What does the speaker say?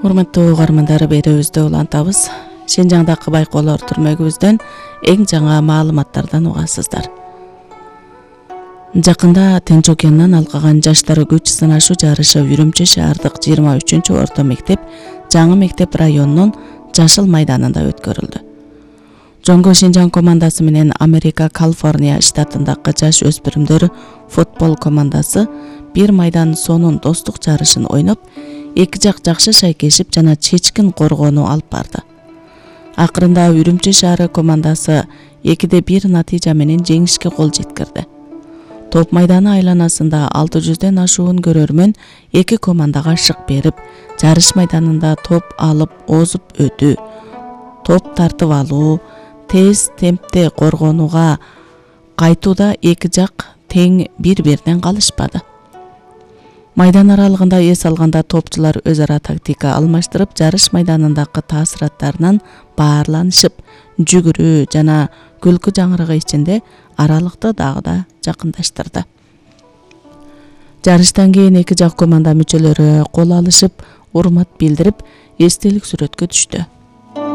Урматтуу угармандар, берүүбүздө улантабыз. Шинжаңдагы байкоолор түрмөгүбүздөн эң жаңы маалыматтардан угасыздар. Жакында Тынч океанынан алкаган жаштар күч сынашуу жарышы Үрүмчү шаардык 23-орто мектеп Жаңы мектеп районунун Жашыл майданында өткөрүлдү. Жоңго Шинжаң командасы менен Америка Калифорния штатындагы жаш өспүрүмдөр футбол командасы бир майдан сонун достук жарышын ойноп, эки жак жакшы шайкешип жана чечкин коргоону алып барды. Акырында Үрүмчү шаары командасы 2-1 натыйжа менен жеңишке кол жеткирди. Топ майданы айланасында 600ден ашуун көрөрмөн эки командага шык берип, жарыш майданында топ алып озуп өтүү, топ тартып алуу, тез темпте коргонууга кайтууда эки жак тең бири-биринен калышпады. Майдан аралыгында эс алганда топчулар өз ара тактика алмаштырып, жарыш майданындагы таасираттарынан баарланышып, жүгүрүү жана күлкү жаңырыгы ичинде аралыкты дагы да жакындаштырды. Жарыштан кийин эки жак команда мүчөлөрү кол алышып, урмат билдирип, эстелик сүрөткө түштү.